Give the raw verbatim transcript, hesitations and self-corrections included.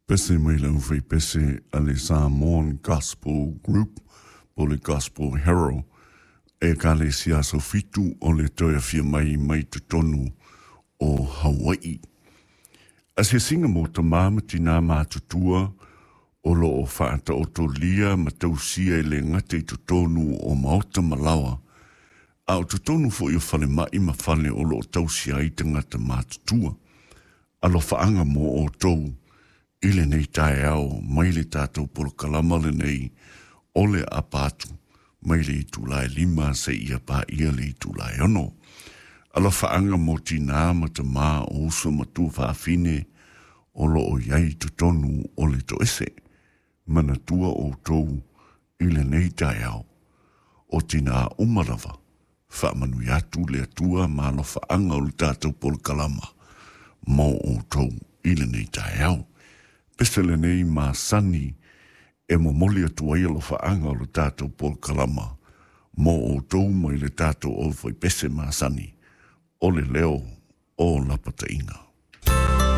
Pese mai le aufaipese a le Samoan Gospel Group po le Gospel Herald Ekalesia Aso Fitu o le toe afio mai mai totonu o Hawai'i. Asiasiga mo tamā ma tinā matutua o loo faataotolia ma tausia e le gata i totonu o maota ma laoa, a o totonu foi o falemai ma fale o loo tausia ai tagata matutua. Alofaaga mo outou i lenei taeao mai le tatou polokalama lenei o le Apatu mai le itula e lima seia paia le itula e ono. Alofaaga mo tinā ma tamā o uso ma tuafafine o loo i ai totonu o le toese. Manatua outou i lenei taeao o tinā uma lava faamanuia atu le Atua ma alofaaga o le tatou polokalama mo outou i lenei taeao. Pese lenei masani e momoli atu ai alofaaga o le tatou polokalama mo outou mai le tatou aufaipese masani o le leo o lapataiga.